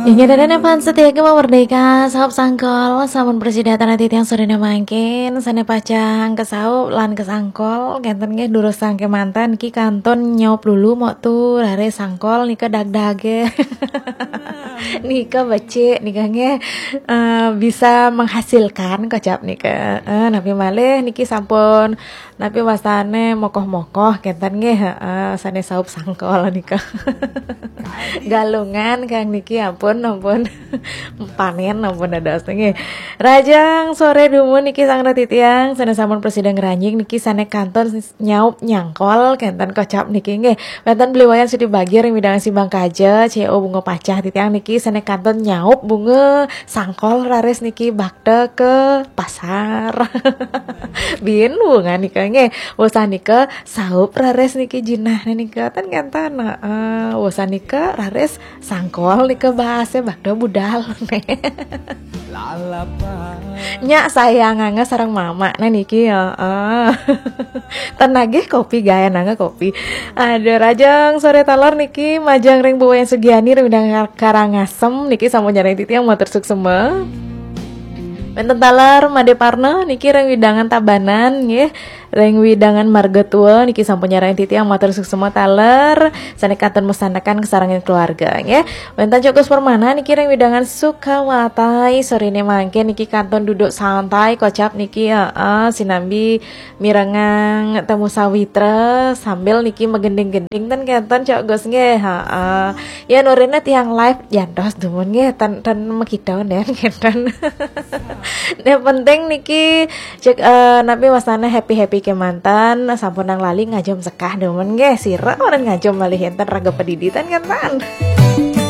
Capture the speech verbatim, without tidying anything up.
Inggih dadan fans setia Gema Merdeka, saup sangkol, sampun prasida titiang sorene mangkin, sane pacang kesaup lan kesangkol, kenten nggih durus sangke manten niki kantun nyaup lulu mok tu rare sangkol nika dagdage. Nika becik nika nggih, eh, bisa menghasilkan kocap nika. Eh, napi malih niki sampun napi wastane mokoh-mokoh kenten nggih, heeh, sane saup sangkol nika. Galungan kang niki ampun, ampun. Panen ampun dados nggih. Rajang sore dumun niki sang titiang sane sampun prasida ngranjing niki sane kantun nyaup nyangkol kenten kocap niki nggih. Wenten Beli Wayan Sudi Bagir ring wewidangan Simbang Kaja, C O Bunga Pacah titiang niki sane kantun nyaup bunga sangkol raris niki bakda ke pasar. Bin bunga nika nggih. Wusan nika saup raris niki jinah nika ten kenten. Heeh, wusan nika raris sangkol nika bahase bakda budal. Nyak sayang angga sareng mama nah niki ya. Ah. Ten nagih kopi gayan angga kopi. Aduh, rajang sore taler niki majeng ring Bu Wayan Sugiani ring wewidangan Karangasem niki sampun nyarengin titiang matur suksema. Wenten taler Made Parna niki ring wewidangan Tabanan nggih. Ring wewidangan Marga Tua niki sampun nyarengin titiang matur suksema taler sane kantun masandekan kasarengin keluarga nggih. Wenten Cok Gus Permana niki ring wewidangan Sukawati sorene mangkin niki kantun duduk santai kocap niki heeh sinambi mirengang temu sawitra sambil niki magending-gending ten kenten Cok Gus nggih heeh. Ya norene tiang live jantos dumun nggih ten ten makita nden kenten. Yang penting niki cek eh, napi wastane happy-happy kemanten sampun nang lali ngajum sekah dumun nggih sira orang ngajum malih enten raga padiditan kan tan.